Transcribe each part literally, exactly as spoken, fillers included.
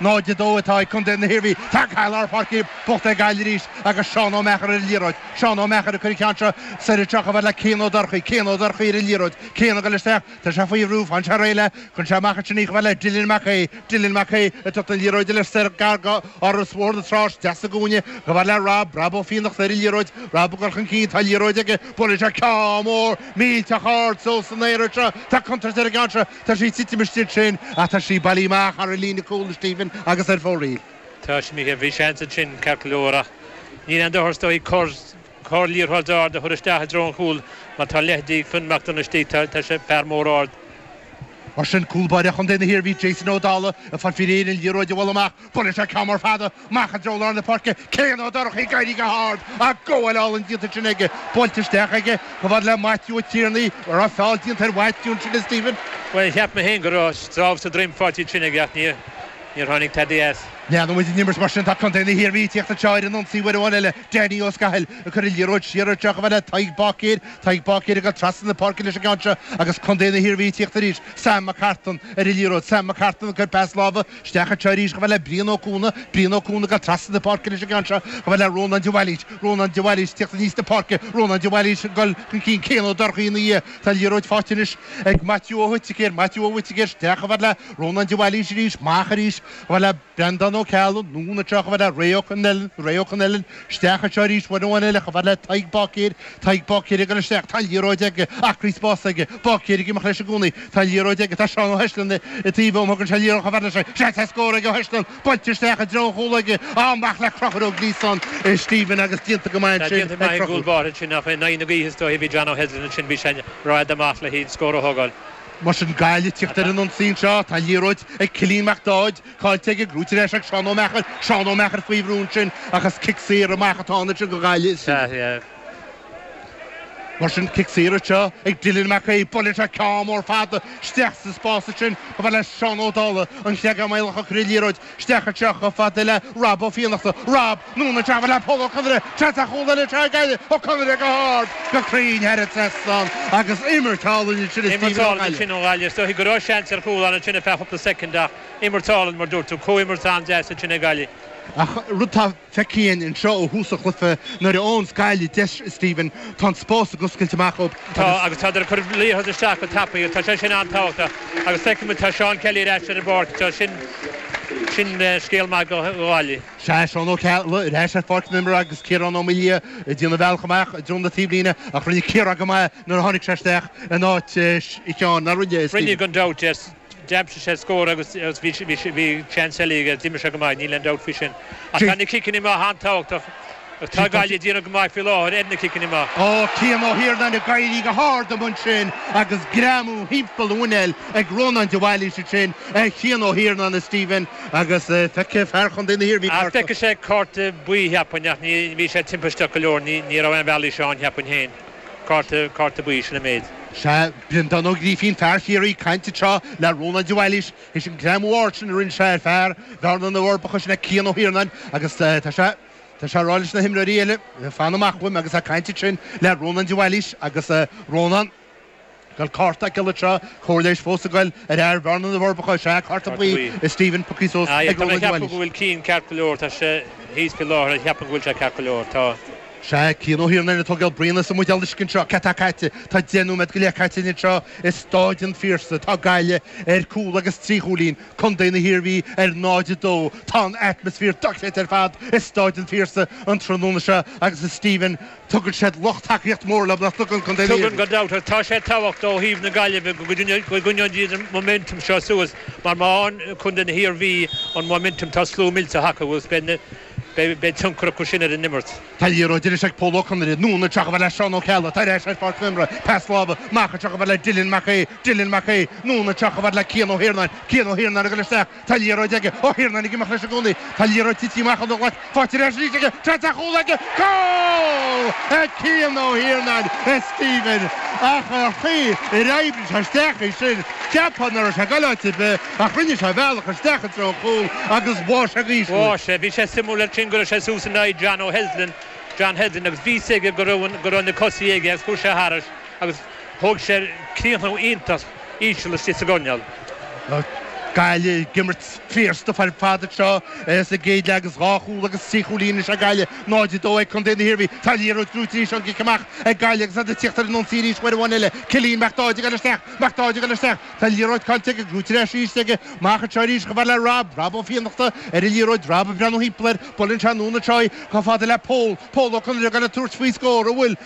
Náid a dó atá ag Contae na hIarmhí. Tá cath lár páirce buachta ag Gaillimh arís agus Seán Ó Meachair ar an liathróid. Seán Ó Meachair ag cur an ceann seo soir anseo chomh fada le Cian Ó Dorchaí. Cian Ó Dorchaí ar an liathróid. Cian ag dul isteach. Tá sé faoi bhrú. Faigheann sé réidh léi. Cuireann sé amach ansin í chomh fada le Dylan Mac Aodha. Dylan Mac Aodha ag tabhairt an liathróid eile soir gar go Áras Bhóthar na Trá isteach sa gcúinne chomh fada le Rob. Rob Ó Fiannachta ar an liathróid. Rob ag dul chun cinn. Tá an liathróid aige. Buaileann sé ceann mór millteach ard suas san aer anseo. Tá contúirt ar an gceann seo. Tá sí ag titim istigh ansin ach tá sí bailithe amach thar an líne cúil a Stephen agus ar fóraoil. Tá sé mícheál, bhí seans ansin ceart go leor ach níl aon dochar is dóigh cor, cor liathróid ard a chur isteach i dtreo an chúil mar tá leithide ag Finn McDonagh istigh, tá, tá sé fear mór ard. Mar sin, cúl báire Chontae na hIarmhí, Jason Ó Dálaigh, ag fáil faoi réir an liathróid a bhualadh amach. Buaileann sé ceann mór fada amach i dtreo lár na páirce. Cian Ó Dorchaí ag éirí go hard ach gabháil álainn déanta ansin aige. Buailte isteach aige chomh fada le Maitiú Ó Tiarnaigh. An raibh feall déanta ar Mhaitiú ansin, a Stephen? Bhuel, cheap mé féin go raibh sábh sa droim faighte ansin aige ach níor níor tháinig tada as. Leanann muid an imirt mar sin. Tá contae na hIarmhí ag tíocht anseo ar an ionsaí uair amháin eile. Danny Ó Scathail ag cur an liathróid siar anseo chomh fada le Tadhg Báicéir. Tadhg Báicéir ag dul trasna na páirce leis an gceann seo agus contae na hIarmhí ag tíocht arís. Sam McCartan ar an liathróid. Sam McCartan ag cur pas láimhe isteach anseo arís chomh fada le Brian Ó Cuana. Brian Ó Cuana ag dul trasna na páirce leis an gceann seo chomh fada le Rónán de Bhailís. Rónán de Bhailís ag tíocht aníos na páirce. Rónán de Bhailís ag dul chun cinn. Cian Ó Dorchaí ina dhiaidh. Tá an liathróid faighte anois ag Maitiú Ó hUiticéir. Maitiú Ó hUiticéir isteach chomh fada le Rónán de Bhailís arís. Amach arís chomh fada le Breandán Ó Ceallaigh. Anonn anseo chomh fada le Ray Ó Connellan. Ray Ó Connellan isteach anseo arís uair amháin eile chomh fada le Tadhg Báicéir. Tadhg Báicéir ag dul isteach. Tá an liathróid aige. Acraí spáis aige. Báicéir ag imeacht leis i gcónaí. Tá an liathróid aige. Tá Seán Ó hEisleann i dtaobh óm. Thugann sé an liathróid chomh fada leis. Seans ar scór ag Ó hEisleann. Buailte isteach i dtreo an chúil aige. Amach le Conchúr Ó Gliasáin, Stephen agus déanta go maith Tá ansin déanta ag maith ag Conchúr. gcúl báire ansin ach in aghaidh na gaoithe is dóiche bhí John Ó Heslin ansin bhí sé rófhada amach le haghaidh scór a thógáil. Mar sin Gaillimh ag tíocht ar an ionsaí anseo. Tá an liathróid ag Cillian Mac Dáid. Caillte aige, gnóite ar ais ag Seán Ó Meachair. Seán Ó Meachair faoi bhrú ansin ach is cic saor amach atá ann ansin go Gaillimh. Sea, yeah. Mar sin cic saor anseo ag Dylan Mac Aodha. Buaileann sé ceann mór fada isteach sa spás ansin chomh fada le Seán Ó Dálaigh, an Creagán Maolach ag cur an liathróid isteach anseo chomh fada le Rob Ó Fiannachta. Rob, anonn anseo chomh fada le Pól Ó Conaire. Seans ar chúl eile anseo ag Gaillimh. Ó Conaire go hard, go cruinn thar an trasnán agus imirt álainn ansin ag Imirt Stephen Ó álainn Gaillimh. ansin ó Ghaillimh. Is dóiche go raibh seans ar chúl ann ansin ar feadh cúpla soicind ach imirt álainn mar dúirt tú, comhimirt an-deas ansin ag Gaillimh. Ach rud atá feicthe againn anseo ó thús an chluiche nuair a fhaigheanns Gaillimh deis, Stephen, tá an spás ag oscailt amach dóibh Tá agus. agus tá ag cur liathróid isteach go tapaidh, tá sé sin an-tábhachtach agus feicimid tá Seán Kelly ar ais ar an bpáirc, tá sin sin scéal maith go Ghaillimh. Sea, Seán Ó Ceallaigh ar ais ar pháirc na himeartha agus Ciarán Ó Maoildhia ag déanamh a bhealach amach i dtreo na taobhlíne ach rinne Ciarán go maith nuair a tháinig sé isteach in áit Sheáin, nár rinne, Rinne Stephen? gan dabht, yes. D'aimsigh sé scór agus bhí bhí seans eile aige, d'imir sé go maith, níl aon dabht faoi sin. Ach tá na ciceanna amach an-tábhachtach agus tá Gaillimh ag déanamh go maith faoi láthair ar na ciceanna amach. Ó Cian Ó hIarnáin ag éirí go hard amuigh ansin agus greamú thimpeall a mhuinéil ag Rónán de Bhailís ansin ar Chian Ó hIarnáin a Stephen agus feicfidh fear Chontae na hIarmhí Ach cárta. feicfidh sé cárta buí cheapfainn ach ní bhí sé timpisteach go leor, ní ní raibh aon bhealaí seo ann cheapfainn féin. Cárta cárta buí sin an méid. Sea, Breandán Ó Grífín, fear Chiarraí, ag caint anseo le Rónán de Bhailís, théis an greamú ard sin a rinne sé ar fear Bhearna na bhForbacha sin é Cian Ó hIarnáin agus tá sé tá sé ag rá leis na himreoirí eile fan amach uaim agus é ag caint ansin le Rónán de Bhailís agus Rónán ag cárta aige anseo comhairle leighis fós ag goil ar fhear Bhearna na bhForbacha sea cárta buí Stephen pioctha suas ag Tá mé Rónán de ceapadh go Bhailís. bhfuil Cian ceart go leor, tá sé thíos faoi láthair, cheapann go bhfuil sé ceart go leor, tá. Sea, Cian Ó hIarnáin ag tógáil braon sa mbuidéal uisce anseo, cad tá caite? Tá deich nóiméad go leith caite anseo i Stáid an Phiarsaigh. Tá Gaillimh ar cúl agus trí chúilín, Contae na hIarmhí ar náid a dó. Tá an atmaisféar dochreidte ar fad i Stáid an Phiarsaigh an tráthnóna seo agus a Stephen, tugann siad lucht tacaíocht mór leo nach dtugann Contae na Tugann hIarmhí? gan dabht, tá sé tábhachtach ó thaobh na Gaillimhe go gcoinneoidh siad an momentum seo suas mar má fhaigheann Contae na hIarmhí an momentum tá slua millteach acu agus beidh beidh tionchar acu sin ar an imirt. Tá liathróid arís ag Pól Ó Conaire, anonn anseo chomh fada le Seán Ó Ceallaigh, tá ar ais ar pháirc na himeartha, pas láimhe, amach anseo chomh fada le Dylan Mac Aodha, Dylan Mac Aodha, anonn anseo chomh fada le Cian Ó hIarnáin, Cian Ó hIarnáin ag dul isteach, tá liathróid aige, Ó hIarnáin ag imeacht leis i gcónaí, tá liathróid tite amach óna ghlac, faighte ar ais arís aige, seans ar chúl aige, cúl! Ag Cian Ó Hiarnáin, a Stephen, ach ar chaoi ar oibrigh sé isteach é sin, cheapfá nach raibh sé ag dul áit ar bith, ach rinne sé a bhealach isteach i dtreo an chúil agus bháigh sé go híseal. Bháigh sé, bhí sé suimiúil ansin go raibh sé suas in aghaidh John O'Heslin, John Heslin agus bhí aige go raibh go raibh na cosaí aige agus chuaigh sé thairis agus thóg sé críochnú iontach íseal istigh sa gcoirnéal. Gaillimh ag imirt fíorsta ar fad seo sa gcéad leath agus dhá chúl agus trí chúilín ag Gaillimh náid a dó ag Contae na hIarmhí. Tá liathróid gnóthaithe arís an cic amach ag Gaillimh agus iad ag tíocht ar an ionsaí arís uair amháin eile. Cillian Mac Dáid ag dul isteach, Mac Dáid ag dul isteach. Tá liathróid caillte aige, gnóthaithe ar ais arís aige. Amach anseo arís chomh fada le Rob, Rob Ó Fiannachta ar an liathróid, Rob ag breathnú thimpeall air, buaileann sé anonn anseo í chomh fada le Pól, Pól Ó Conaire ag dul ag tabhairt faoi scór, an bhfuil?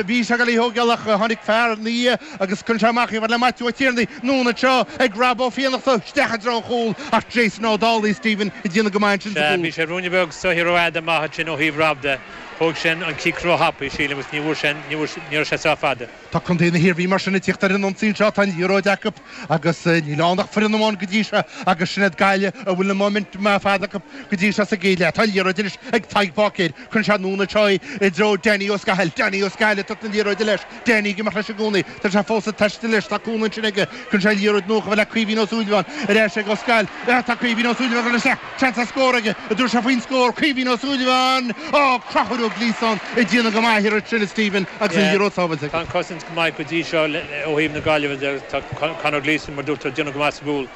Bhí sé ag dul í thógáil ach tháinig fear ina dhiaidh agus cuireann sé amach í chomh fada le Maitiú Ó Tiarnaigh, anonn anseo ag Rob Ó Fiannachta, isteach i dtreo an chúil ach Jason Ó Dálaigh, Stephen, ag déanamh go maith ansin sa chúl. Bhí sé ruainne beag soithear rófhada amach ansin ó thaobh Rob de. Thóg sé an cic róthapaidh, sílim, agus ní bhfuair sé, ní raibh sé sách fada. Tá contae na hIarmhí mar sin ag tíocht ar an ionsaí anseo, tá an liathróid acu agus níl ann ach foireann amháin go dtí seo agus sin iad Gaillimh a bhfuil an momentum ar fad acu go dtí seo sa gcéad leath. Tá an liathróid anois ag Tadhg Báicéir, cuireann sé anonn anseo í i dtreo Danny Ó Scathail, Danny Ó Scathail ag tabhairt na liathróide leis, Danny ag imeacht leis i gcónaí, tá sé fós ag taisteal leis, tá cúnamh ansin aige, cuireann sé an liathróid anonn chomh fada le Caoimhín Ó Súilleabháin, ar ais ag Ó Scathail, tá Caoimhín Ó Súilleabháin ag dul isteach, seans ar scór aige, an dtabharfaidh sé faoin scór, Caoimhín Ó Súilleabháin, á, Conchúr Ó Gliasáin ag déanamh go maith ar sin Stephen agus an liathróid sábháilte aige. Tá an cosaint go maith go dtí seo ó thaobh na Gaillimhe de, tá Conor Gleeson mar dúirt tú ag déanamh go maith sa gcúl.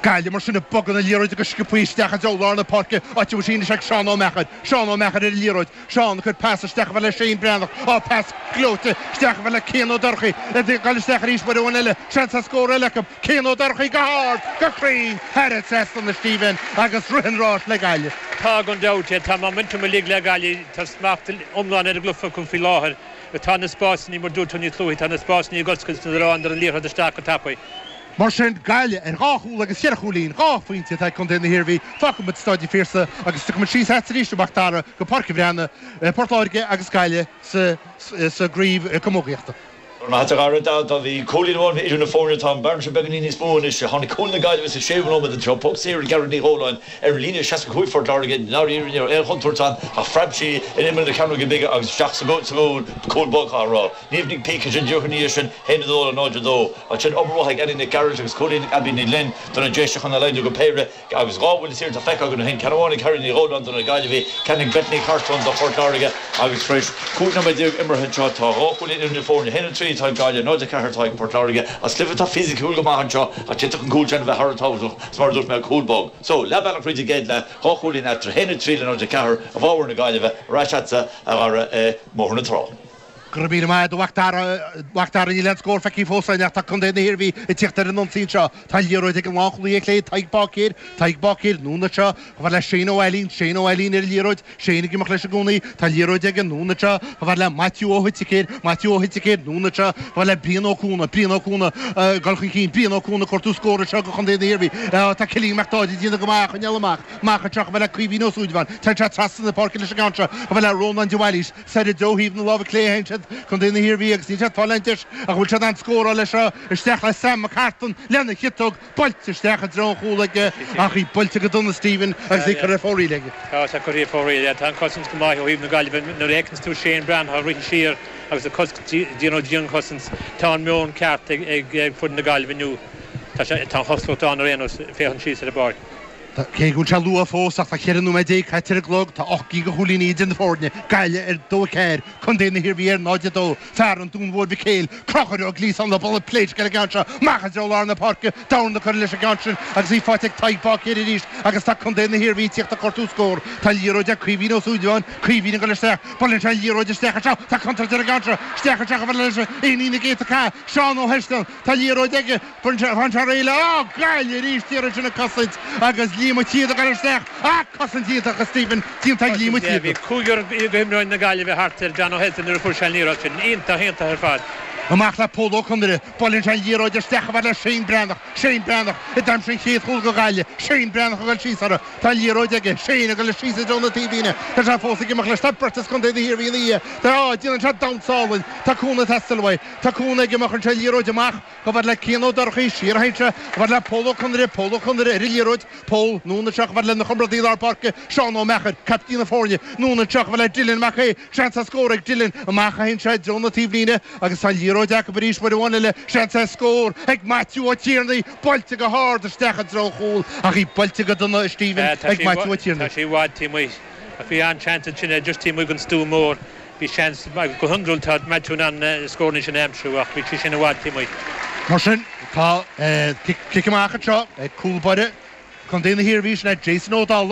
Gaillimh mar sin ag bogadh na liathróide go sciobtha isteach i dtreo lár na páirce, áit a bhfuil sí anois ag Seán Ó Meachair. Seán Ó Meachair ar an liathróid. Seán ag cur pas isteach chomh fada le Shane Breathnach. Á, pas gleoite isteach chomh fada le Cian Ó Dorchaí. Ag dul isteach arís uair amháin eile. Seans ar scór eile acu. Cian Ó Dorchaí go hard, go cruinn, thar an trasnán a Stephen agus rith an ráis le Gaillimh. Tá gan dabht, tá momentum uilig le Gaillimh, tá smacht iomlán ar an gcluiche acu faoi láthair. Tá na spásanna, mar dúirt tú níos luaithe, tá na spásanna ag oscailt nuair a fhaigheann an liathróid isteach go tapaidh. Mar sin, Gaillimh ar dhá chúl agus cheithre chúilín, dhá phointe atá ag Contae na hIarmhí. Fágfaidh muid Staid an Phiarsaigh agus tiocfaidh muid síos agat arís, a Mhac Dara, go Páirc an Bhreathnaigh, Port Láirge agus Gaillimh sa gcraobh camógaíochta. Go raibh maith agat a Dhara. Dá bhí cúilín amháin idir na foirne, tá an bearna seo beagáinín níos mó anois. Tháinig cúl na Gaillimhe sa séú nóiméad anseo, poc saor ag Gearóid Ní Dhóláin ar an líne seasca cúig Phort Láirge. Ndáiríre ní raibh aon chontúirt ann ach phreab sí in imeall na cearnóige bige agus isteach sa gcúl, cúl bog á rá. Niamh Nic Píce ansin díreach ina dhiaidh sin, haon a dó le náid a dó. Ansin obair mhaith ag Annie Nic Gearailt agus cúilín ag Abbie Ní Ghlinn do na Déise chun a laghdú go péire agus dhá bhuille saor atá feicthe againn ó shin, ceann amháin ag Harry Ní Dhóláin do na Gaillimhigh, ceann ag Bethany Cartron do Phort Láirge agus tar éis cúig nóiméad déag imeartha anseo tá dhá chúilín idir na foirne, haon a trí atá ag Gaillimh, náid a ceathair atá ag Port Láirge. As cluiche atá fisiciúil go maith anseo ach d'fhéadfadh an cúl sin a bheith thar a tábhachtach is mar a dúirt mé cúl bog. So, leath bealach fríd an gcéad leath, dhá chúilín eatarthu, haon a trí le náid a ceathair i bhfabhar na Gaillimhe, ar ais agatsa a Dhara i mBóthar na Trá. Go raibh míle maith agat a Mhac Dara, a Mhac Dara, níl aon scór feicthe fós againn ach tá Contae na hIarmhí ag tíocht ar an ionsaí anseo. Tá an liathróid ag an lánchúlaí ar chlé, Tadhg Báicéir, Tadhg Báicéir, anonn anseo, chomh fada le Shane Ó Ailín, Shane Ó Ailín ar an liathróid, Shane ag imeacht leis i gcónaí, tá an liathróid aige, anonn anseo, chomh fada le Maitiú Ó hOiticéir, Maitiú Ó hOiticéir, anonn anseo, chomh fada le Brian Ó Cuana, Brian Ó Cuana, ag dul chun cinn, Brian Ó Cuana ag cuartú scór anseo do Chontae na hIarmhí. Tá Cillian Mac Dáid ag déanamh go maith á choinneáil amach, amach anseo chomh fada le Caoimhín Ó Súilleabháin, téann sé trasna na páirce leis an gceann seo, chomh fada le Rónán de Bhailís, Soir i dtreo thaobh na láimhe clé a théann siad, Contae na hIarmhí, agus níl siad ag fáil aon deis ach bhfuil siad in ann scóráil leis seo, isteach le Sam McCartan lena chiotóg, buailte isteach i dtreo an chúil aige ach í buailte go dona Stephen agus í curtha ar fóraoil aige. Tá sé curtha ar fóraoil, yeah. Tá an cosaint go maith ó thaobh na Gaillimhe. Nuair a fheiceanns tú Shane Breathnach ag rith siar agus ag cosc, déanamh dianchosaint, tá an meon ceart ag foireann na Gaillimhe inniu. Tá sé, tá an chosúlacht ann ar aon nós, féachaint síos ar an bpáirc. Cé go bhfuil sé luath fós ach tá ceithre nóiméad déag caite ar an gclog, tá ocht gcinn de chúilíní idir na foirne, Gaillimh ar dó a ceathair, Contae na hIarmhí ar náid a dó. Fear an Dúin Mhóir Mhic Éil, Conchúr Ó Gliasáin le buille pléisc ar an gceann seo, amach i dtreo lár na páirce, dorn curtha leis an gceann sin agus í faighte ag Tadhg Báicéir arís agus tá Contae na hIarmhí ag tíocht ag cuartú scór. Tá an liathróid ag Caoimhín Ó Súilleabháin, Caoimhín ag dul isteach, buaileann sé an liathróid isteach anseo, tá contúirt ar an gceann seo, isteach anseo chomh fada leis an éinín ag éiteadh cath, Seán Ó hEistean, tá an liathróid aige, Faigheann sé, faigheann sé réidh le, á, Gaillimh arís iarraidh sin ag cosaint agus Liam Ó Tíoda ag dul isteach, ach cosaint iontach a Stephen, déanta ag Liam Ó Tíoda. Bhí cúigear d'imreoirí na Gaillimhe thart ar John Ó hEithir nuair a fuair sé an liathróid sin. Iontach, iontach ar fad. Amach le Pól Ó Conaire, buaileann sé an liathróid isteach chomh fada le Shane Breathnach, Shane Breathnach, a d'aimsigh an chéad chúl do Ghaillimh, Shane Breathnach ag dul síos orthu, tá an liathróid aige, Shane ag dul síos i dtreo na taobhlíne, tá sé fós ag imeacht leis, tá beirt as Contae na hIarmhí ina dhiaidh, tá, á, déanann sé damhsa álainn, tá cúnamh ag teastáil uaidh, tá cúnamh aige amach, cuireann sé an liathróid amach. Chomh fada le Cian Ó Dorchaí, siar a théann sé, chomh fada le Pól Ó Conaire, Pól Ó Conaire ar an liathróid, Pól, anonn anseo chomh fada lena chomrádaí lár páirce, Seán Ó Meachair, caiptín na foirne, anonn anseo chomh fada le Dylan Mac Aodha, seans ar scór ag Dylan, amach a théann sé i dtreo na taobhlíne agus tá an liathróid acu arís uair amháin eile, seans ar scór ag Maitiú Ó Tiarnaigh, buailte go hard isteach i dtreo an chúil ach í buailte go dona a Stephen ag Maitiú Ó Tiarnaigh. Tá sí i bhfad taobh amuigh ach bhí an-seans ansin just taobh amuigh den stua mór. Bhí seans, go hiondúil tá Maitiú in ann na scóranna sin a aimsiú ach bhí sí sin i bhfad taobh amuigh. Mar sin, Tá cic amach seo ag cúl báire Contae na hIarmhí sin Jason Ó Dálaigh.